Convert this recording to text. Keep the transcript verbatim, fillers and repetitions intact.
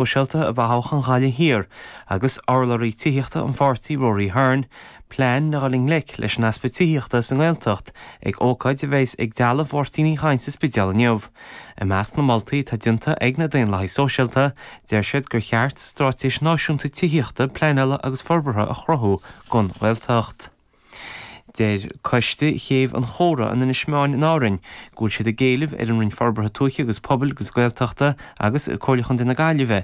Sóisialta a bhí i dToghchán Ghaillimh Thiar agus urlabhraí tithíochta an pháirtí Rory Hearne, plean le dhul i ngleic leis an easpa tithíochta sa nGaeltacht ag ócáid a bheas ag Dealbh Mháirtín Uí Chadhain sa Spidéal inniu. I measc na moltaí atá déanta ag na Daonlathaigh Sóisialta, deir siad gur cheart straitéis náisiúnta tithíochta, pleanála agus forbartha a chruthú don Ghaeltacht. Deir coiste Chéibh an Chóra in Inis Meáin in Árainn go bhfuil siad ag éileamh ar an Roinn Forbartha Tuaithe agus Pobail agus Gaeltachta agus Comhairle Chontae na Gaillimhe